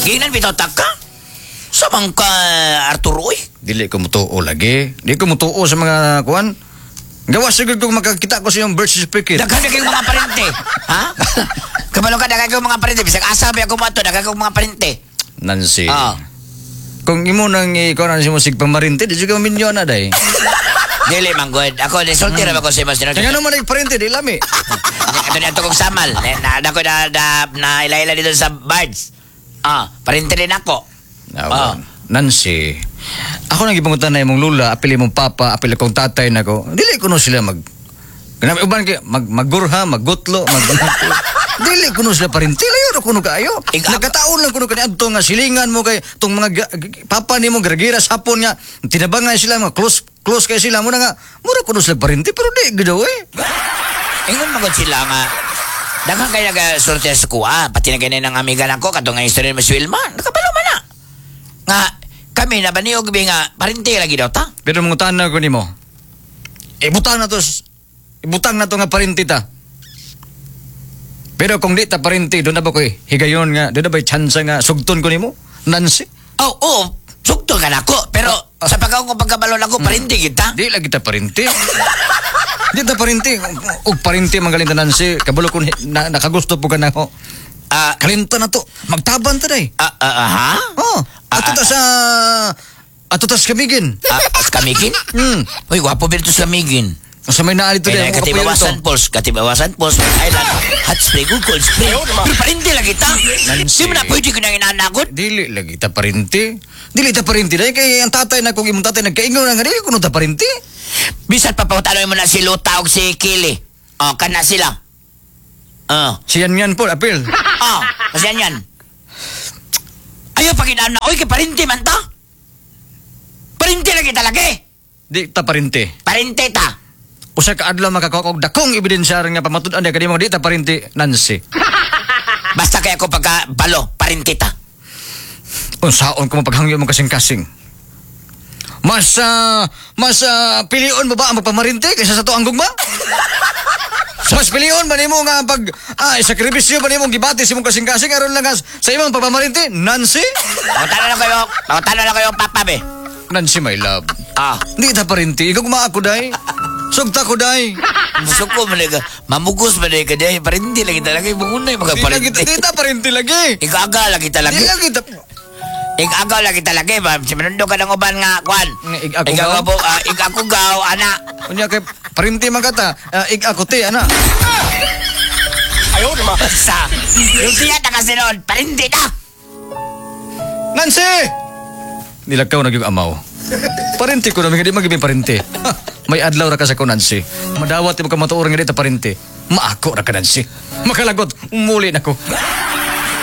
Ginan bitaw ka? Sa man ka, Arturo, uy? Dili ko mutuo lagi. Di ko mutuo sa mga kuan. Gawas siguro kung makakita ko sa iyong birth certificate. Daghan na kayong mga parente. Ha? Kabalo ka, daghan kayong mga parente. Bisag asa ba ako mo ato, daghan kayong mga parente. Nancy. Ah. Kung imo nang ikaw na si musig pamarinte, di siya minyo na day. Dili man good. Ako, nisulti ra ba ko sa imo sinod? Kaya naman nagparente, di lami. Ato ni ato kong samal. Na na ko na na, na ila-ila dito sa birds. Ah, parente din ako. Ah. Nancy, ako nang gipangutan na imong lula, apil imong papa, apil akong tatay nako. Dili kuno sila mag Kanang uban kay mag maggurha, maggutlo, mag dili kuno sila parente, layo ra kuno kaayo. Nagkataon lang kuno kani adto nga silingan mo kay tong mga papa nimo giragira sa hapon nga tinabangan sila, mga close close kay sila mo na nga mura kuno sila parente, pero di gid eh. Ingon man gud sila nga daghan kay nagasulti sa kuha, pati na ganyan ang amiga nako katong nga istorya ni Miss Wilma. Nakabalo man na. Nga kami na baniog bi nga parente lagi daw ta. Pero mangutan na ko nimo. Ibutang na to ibutang na to nga parente ta. Pero kung di ta parente, doon na ba ko eh, higayon nga, doon na ba'y chance nga sugton ko nimo? Nancy? Oh, oh, sugto ka nako, pero sa pagkaon ko pagkabalo nako parente kita. Di lagi ta parente. Di ta parente. Og parente magaling ta, Nancy. Kabalo ko na, nakagusto po ka na ako. Ah, Kalimta na to. Magtaban ta day. ah, ah, ah, ha? Oh, ato ta sa ato ta sa Camiguin. Ah, sa Camiguin? Hmm. Uy, gwapo ba ito sa Camiguin? Sa may naali to Kaya day. katibawasan Falls, katibawasan Falls, White Island, Hot Spring, ug Cold Spring. Pero parente lagi ta. Nancy. Di mo na pwede ko nang inanagod. Dili lagi ta parente. Dili ta parente dahil kay ang tatay na kung imong tatay nagkaingon na nga dili kuno ta parente. Bisan pa pautanoy mo na si Luta og si Kili. Oh, kana sila. Oh. Siyan yan po, apil. Oh, kasi yan yan. Ayaw pag na, oy, kay parente man ta. Parente lagi talaga eh. Di ta parente. Parente ta. Usa ka adlaw makakuha og dakong ebidensya nga pamatud-an niya kanimo di ta parente, Nancy. Basta kaya ako pagka balo, parente ta. Unsaon ko mo paghangyo mo kasing-kasing? Mas pilion mo ba ang pagpamarinte kaysa sa tuang gugma? Mas pilion ba nimo nga pag sakripisyo ba nimo gibati sa imong kasing-kasing aron lang nga sa imong pagpamarinte, Nancy? Pangutano na kayo, papa be. Nancy, my love. Ah, Di ta parente, ikaw ako day. Sugta ko day. Musuko man ka, mamugos man ka day, parente lagi talaga, imungunay mga Di lagi parente. di ta parente lagi. Igaga lagi talaga. Di lagi ta. Igagaw lagi talaga, ba? Si Manundo ka ng uban nga, kwan. Nga, ig-ako gaw? Igago gaw, ana. Unya kay parente man ka ta, ig ako te ana. Sa, yung siya ta kasi noon, parente ta. Nancy! Nilakaw na yung amaw. Parente ko namin, hindi magibing parente. Ha, may adlaw ra ka sa ko, Nancy. Madawat mo ka matuor nga di ta parente. Maako ra ka, Nancy. Makalagot, umuli na ko.